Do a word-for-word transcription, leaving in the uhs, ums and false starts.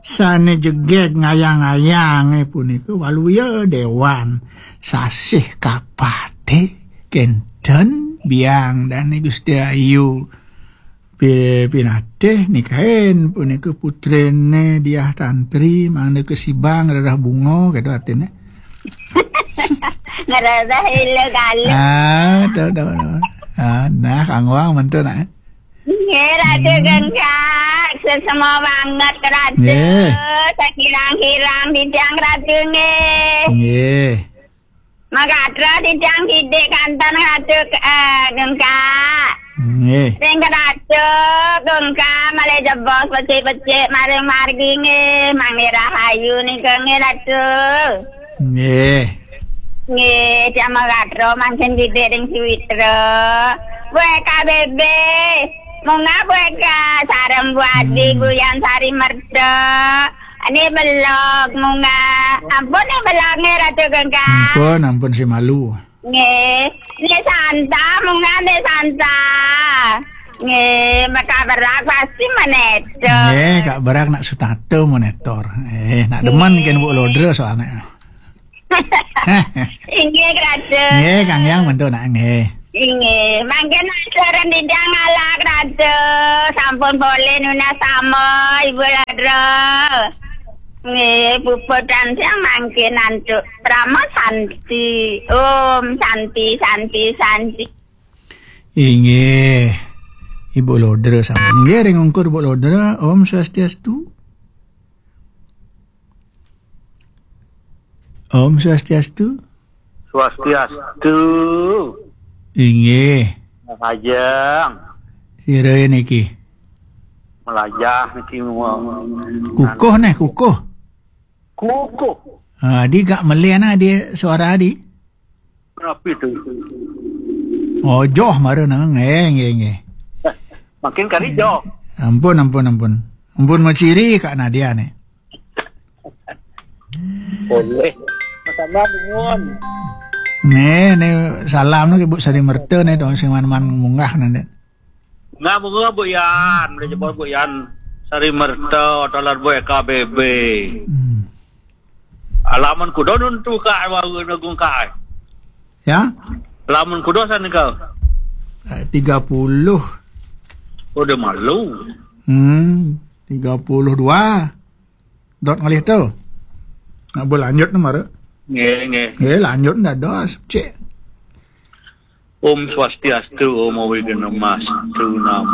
Sane jegeg ngayang-ngayang, eh, punika Waluya Dewan, Sasih Kapate, kenten Biang Dane Gusti Ayu. Pi-, pinatih nikahin punika putrene Diah Tantri, mangda kasibang rereh bunga, gitu artine. Ngerasa ilu kalu. Ah, tahu, tahu, tahu. Ah, nah, Kang Wang mentu, nak. Nggih, Ratu Gengkak, sesama banget, Ratu. Nggih. Sekirang-kirang bidang, Ratu, nggih. Nggih. Magatro titiang sidik kanten Ratu, eh, Gengkak. Nggih. Ring Ratu Gengkak malih jebos becik-becik maring margi nggih, mangke rahayu nika nggih Ratu. Nggih. Nggih, tiang magatro mangkin sidik ring Suwitra. Buat K B B. Munggah buat ka sareng Bu Adi Hmm. Guyan Sari Merta. Ini belog munggah. Ampun nih belog nih Ratu Gengkak. Ampun, ampun si malu. Nggih. Ini Santa, munggah nih Santa. Nggih, maka berak pasti menetor. Nggih, Kak Berak nak sutata menetor. Eh, nak demen Nggih. Kan Bu Lodra soalnya. Inggih, Ratu. Nggih, Kang Yang mentu nak nggih. Inggih, mangkin acara nidang ngalak, Ratu. Sampun boleh nunas sama, Ibu Lodra. Nggih, puput dan siang mangkin antuk. Prama Santi. Om Santi, Santi, Santi. Inggih. Ibu Lodra sampun. Inggih, ring ungkur Bu Lodra. Om Swastiastu. Om Swastiastu. Swastiastu. Inggih. Ajeng. Sira niki. Melajah niki. Kukuh neh, kukuh. Kukuh. Ah, adi gak melian adi suara adi. Napi tu? Ojoh mara nang. Nggih, nggih, nggih. Makin kari joh. Ampun, ampun, ampun. Ampun maciri Kak Nadia nih. Boleh. Sama bungun. Nih, nih salam nih Ibu Sari Merta nih, dong sing man-man munggah nanti. Nga bunga Bu Yan, boleh jebol Bu Yan. Sari Merta, talar Bu K B B. Hmm. Alaman kuda nuntu ka waru nagung ka. Ya? Alaman kuda sana ka. Eh, tiga puluh. Oh, dia malu. Hmm, tiga puluh dua. Dot ngalih tu. Nak berlanjut ni mara. Nggih, nggih. Nggih, lanjut ndak dos, cek. Om Swastiastu, Om Awighnamastu Namo.